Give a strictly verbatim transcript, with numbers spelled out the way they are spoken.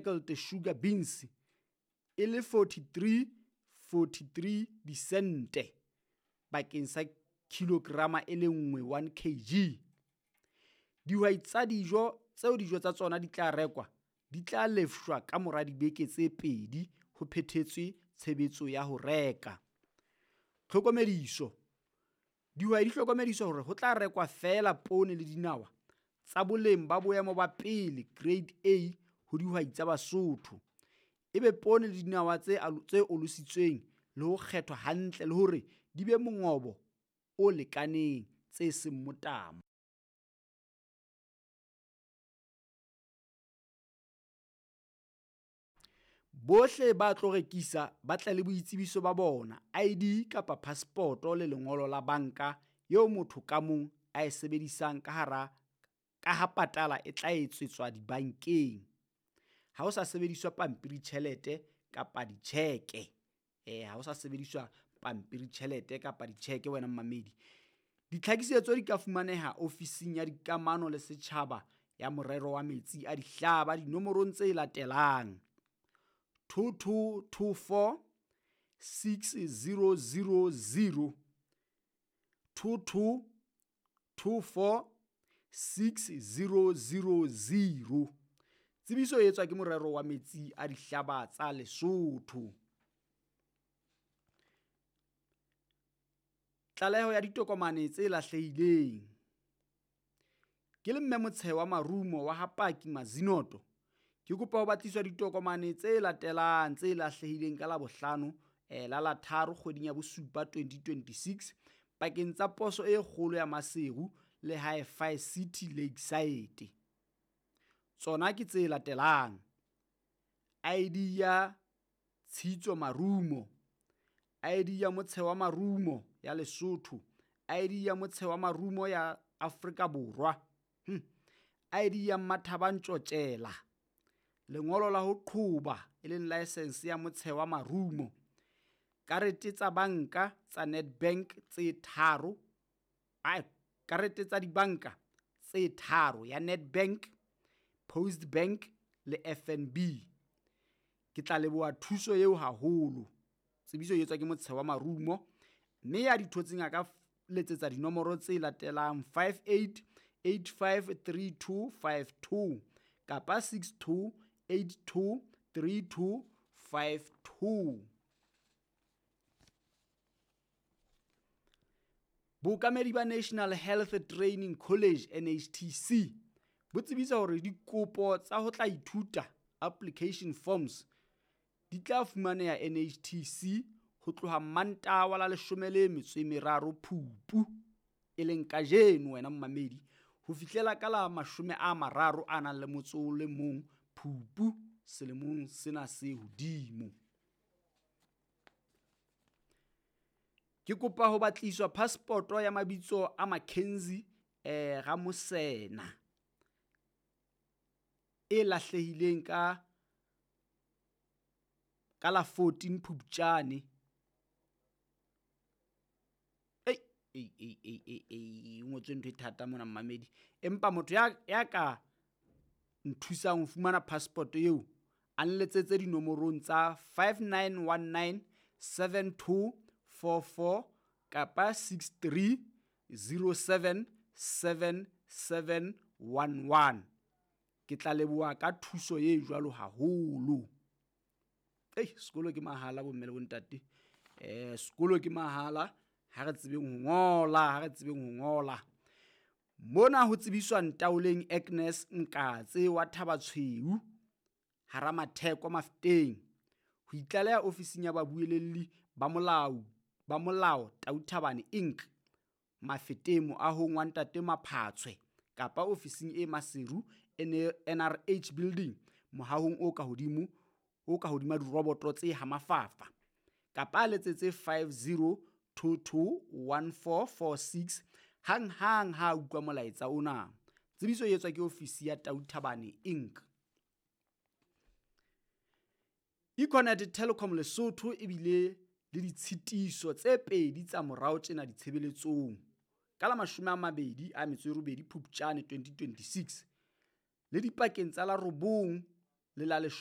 Speckled sugar beans e le forty-three forty-three disente bakeng sa kilograma e le nngwe one kg. Dihwai tsa dijo tseo dijo tsa tsona di tla rekwa di tla lefshwa ka mora dibeke tse pedi ho phethetswe tshebetso ya ho reka. Tlhokomediso. Dihwai di hlokomediswa hore ho tla rekwa feela poone le dinawa tsa boleng ba boemo ba pele grade A ho dihwai tsa Basotho, e be poone le dinawa tse tse olositsweng le ho kgethwa hantle le hore di be mongobo o lekaneng, tse seng motamo. Bohle ba tlo rekisa ba tle le boitsebiso ba bona, I D kapa phasepoto le lengolo la banka eo motho ka mong a e sebedisang ka hara ka ha patala e tla etsetswa dibankeng. Ha ho sa sebediswa pampiritjhelete kapa ditjheke. Eh ha ho sa sebediswa pampiritjhelete kapa ditjheke wena mmamedi. Ditlhakisetso di ka fumaneha ofising ya dikamano le setjhaba ya morero wa metsi a dihlaba dinomorong tse latelang: two two two four six zero zero zero, two two two four six zero zero zero. Tsebiso e etswa ke morero wa metsi a dihlaba tsa Lesotho. Tlaleho ya ditokomane tse lahlehileng. Ke le mme Motshewa wa Marumo wa ha Paki Mazinoto, ke kopa ho batliswa ditokomane tse latelang tse lahlehileng ka Labohlano eh, la la tharo kgweding ya bosupa twenty twenty-six pakeng tsa poso e kgolo ya Maseru le Hi-Fi City Lakeside. Tsona ke tse latelang: I D ya Tshitso Marumo, I D ya Motshewa Marumo ya Lesotho, I D ya Motshewa Marumo ya Afrika Borwa, hm. I D ya Mmathaba Ntjotjela, lengolo la ho qhoba e leng license ya Motshewa Marumo, karete tsa banka tsa Nedbank tse tharo, ai karete tsa dibanka tse tharo ya Nedbank, Post Bank le F N B. Ke tla leboha thuso eo haholo. Tsebiso e etswa ke Motshewa Marumo, mme ya di thotseng a ka letsetsa dinomoro tse latelang five eight eight five three two five two kapa six two eight two three two five two. Bookamedi ba National Health Training College N H T C bo tsebisa hore dikopo tsa ho tla ithuta application forms di tla fumaneha N H T C ho tloha Mantaha wa la leshome le metso e meraro Phupu, e leng kajeno wena mmamedi, ho fihlela ka la mashome a mararo a nang le motso o le mong Phupu selemong sena se hodimo. Ke kopa ho batliswa passport ya mabitso a Mackenzie eh Ramosena e lahlehileng ka ka la fourteen Phupjane. Ei ei ei ei ei ei ngotswe ntho e thata mona mmamedi, empa motho ya ya ka nthusang ho fumana passport eo a nletsetse dinomorong tsa five nine one nine seven two four four kapa six three zero seven seven seven one one. Ke tla leboha ka thuso e jwalo haholo. Ei, sekolo ke mahala bomme le bontate. Eh, sekolo ke mahala, ha re tsebeng ho ngola, ha re tsebeng ho ngola. Mona ho tsebiswa Ntaoleng Agnes Nkatse wa Thabatshweu hara Matheko Mafeteng ho itlaleha ofising ya babuelelli ba molao ba molao Tau Thabane Incorporated Mafeteng moahong wa Ntate Maphatshwe kapa ofising e Maseru N R H Building mohahong o ka hodimo o ka hodima diroboto tse hamafafa kapa a letsetse five zero two two one four four six hang hang ha utlwa molaetsa ona. Tsebiso e etswa ke ofisi ya Tau Thabane Incorporated. Econet Telecom Lesotho ebile le ditshitiso tse pedi tsa morao tjena ditshebeletsong ka la mashome a mabedi a metso e robedi Phupjane twenty twenty-six le dipakeng tsa la robong le la leshome.